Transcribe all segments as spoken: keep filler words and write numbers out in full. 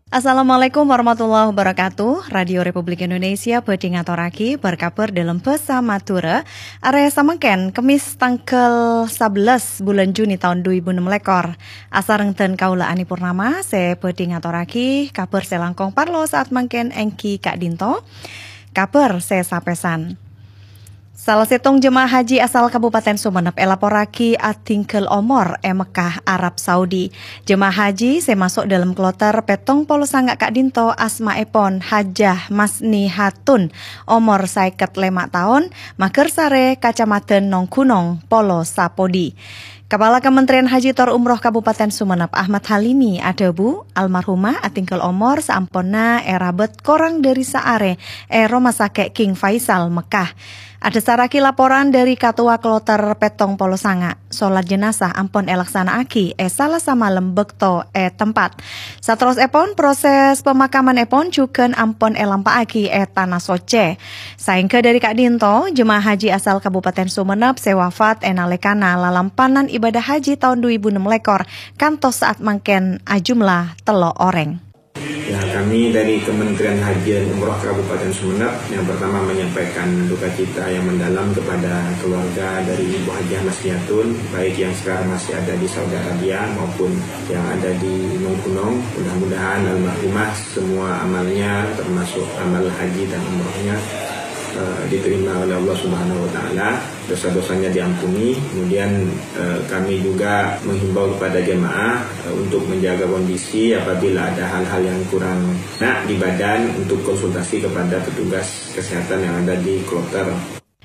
Assalamualaikum warahmatullahi wabarakatuh. Radio Republik Indonesia bhâdhi ngatorraghi bâr-kabhâr dâlem bhâsa Madhurâ. Arè samangkèn, Kemmès, tangghâl sabellâs bulân Juni taon du èbu ennem lèkor. Asareng dân kaulâ Ani Purnama, sè bhâdhi ngatorraghi kabhâr sè langkong parlo sa'at mangkèn èngghi ka'dinto. Kabhâr sè sapèsan. Sala sèttong jemaah haji asal Kabupaten Sumenep èlaporraghi adhingghâl omor è Mekkah, Arab Saudi. Jemaah haji sè maso' dâlem kloter pèttong polo sanga' ka'dinto, asmaèpon Hajjah Masni Hatun, omor saèket lèma' taon, Magersare, Kacamadhân Nonggunong, Polo Sapodi. Kapala Kementerian Haji tor Umroh Kabupaten Sumenep, Ahmad Halimi, adhâbu, almarhumah adhingghâl omor saamponna èrabât korang dâri saarè è Roma Sakè' King Faisal, Mekkah. Adhâsarraghi laporan dâri Katowa Kloter pèttong polo sanga', solat jenazah ampon èlaksana'aghi è Salasa malem bâkto è tempat. Saterrossèpon, proses pemakamanèpon jhughân ampon èlampa'aghi è Tana Soccè. Saèngghâ dâri ka'dinto, jemaah haji asal Kabupaten Sumenep sè wafat è nalèkana lalampanan ibadah haji taon du èbu ennem lèkor kantos sa'at mangkèn ajumlah tello' orèng. Ya, kami dari Kementerian Haji dan Umroh Kabupaten Sumenep yang pertama menyampaikan duka cita yang mendalam kepada keluarga dari Ibu Hajah Masniatun, baik yang sekarang masih ada di Saudi Arabia maupun yang ada di Nonggunong. Mudah-mudahan almarhumah semua amalnya, termasuk amal haji dan umrohnya, eh, diterima oleh Allah Subhanahu wa Ta'ala, dosa-dosanya diampuni. Kemudian, eh, kami juga menghimbau kepada jemaah, eh, untuk menjaga kondisi apabila ada hal-hal yang kurang enak di badan, untuk konsultasi kepada petugas kesehatan yang ada di kloter.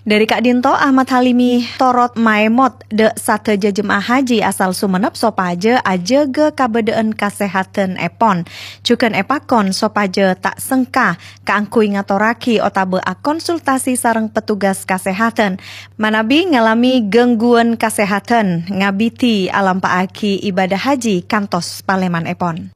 Dâri ka'dinto, Ahmad Halimi torot maèmot dâ' sadhâjâ jemaah haji asal Sumenep sopajâ ajâgâ kabâdâ'ân kasèhadhânèpon. Jhughân èpakon sopajâ ta' sengka kaangghuy ngatorraghi otabâ akonsultasi sareng petugas kasèhadhân manabi ngalamè gangguwân kasèhadhân ngabidhi alampa'aghi ibadah haji kantos palèmanèpon.